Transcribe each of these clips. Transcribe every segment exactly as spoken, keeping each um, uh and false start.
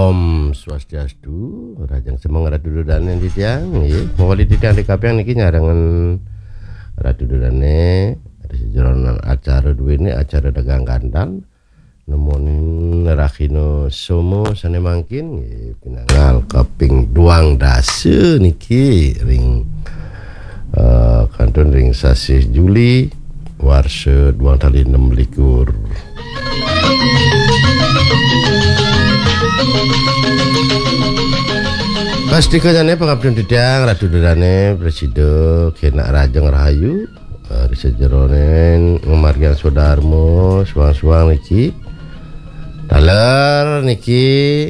Om Swastiastu, rahajeng semeng Ratu Dodane titiang, nggih. Mawali titiang di kapiang niki nyarengan Ratu Dodane, ri sajeroning acara duene, acara dagang gandal. Nemonin rahina Soma sane mangkin, nggih, pinanggal kaping duang dasa niki ring, eh, kantun ring sasih Juli, warsa duang tali enam likur. Pastika jane pangaptin titiang, Ratu Dodane, prasida kenak rahajeng rahayu, eh, ri sajeroning ngamargiang swadarma suang-suang niki. Taler niki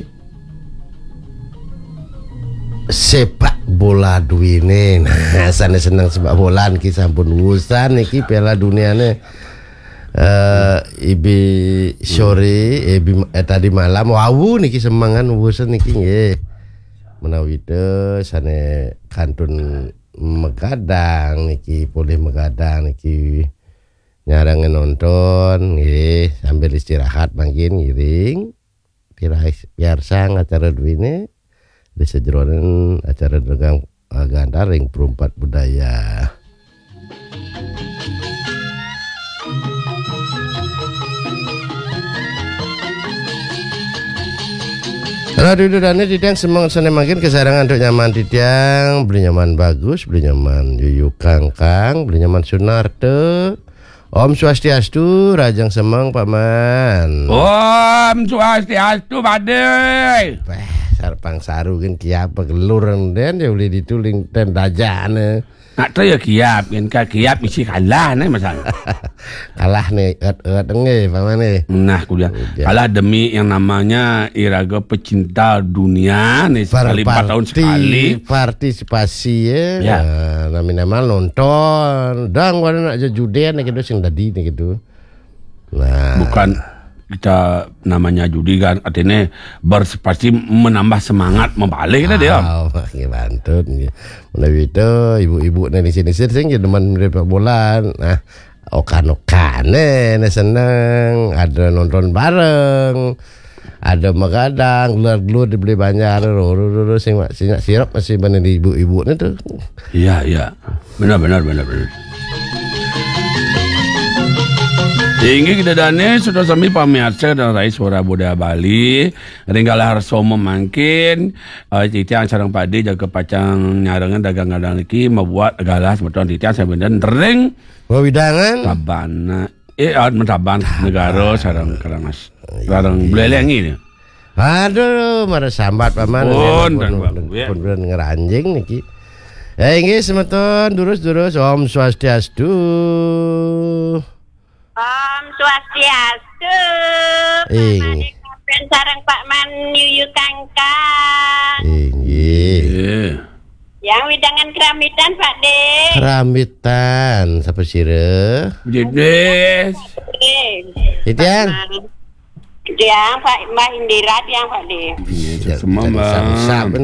sepak bola duene. Nah, sane seneng sepak bola niki sampun wusan niki Piala Duniane. Eh, ibi sore, ibi, eh, tadi malam, wau niki semengan wusan niki nggih. Menawi te sane kantun magadang niki, polih magadang niki, nyarengin nonton nggih, sambil istirahat mangkin ngiring. Piarsang acara duene, ri sajeroning acara dagang, eh, gandal ring Perumpat Budaya. Ratu Dodane titiang semeng sane mangkin kasarengin antuk nyaman titiang, Beli Nyoman Bagus, Beli Nyoman Yuyu Kangkang, Beli Nyoman Sunarta. Om Swastiastu, rahajeng semeng Pak Man. Om Swastiastu, Pade. Wah, sarpang saru kan kiapa gelur den ya uli dituling ten dajane. Nak tu ya kiap, kan ka kiap misi kalah ne masalah. Kalah ne, et-et nggih, Pak Man nggih. Nah, kuliah. Udah. Kalah demi yang namanya iraga pecinta dunia nih, sekali empat tahun sekali. Partisipasi ya. Ya. Nah, nami-nami nonton. Dang wana nak jejuden nih gitu sing dadi nih gitu. Nah. Bukan kita namanya judi kan, artinya berpartisipasi menambah semangat membalik kita dia. Ah, nggih, mantun nggih. Menawi itu ibu-ibu nih di sini sing demen sepak bola. Nah, okan-okane nih seneng, ada nonton bareng, ada magadang, gelar-gelar dibeli banjar, ro, ro, ro, ro, sing, sing sirap masih mana di ibu-ibu nih tuh. Iya, iya. Benar, benar, benar, benar. Inggih, kita dane sudah sami pamiarsa dan rai suara Buddha Bali. Ring galah soma mangkin, eh, titiang sareng Pade jaga pacang nyarengin dagang gandal niki mabuat galah semeton titiang sambil ring wewidangan Tabanan. Eh, ah, Tabanan Negara sareng Karangas. Sareng Buleleng ini. Aduh, mara sambat Paman. Pun, pun, pun, pun, ya. Pun, pun ngeranjing niki. Eh, inggih semeton, durus-durus, Om Swastiastu. Om Swastiastu. Ing. Pak Made Kapen sareng Pak Man Yuyu Kangkang. Inggih. Iya. Yang widangan keramitan, Pak De. Keramitan, sapa sira? Jedes. Oke. Titiang. Pak Man. Tiang, Pak, Mbah Indira, tiang, Pak De. Iya, semua, Mbah. Sap-sap, kan,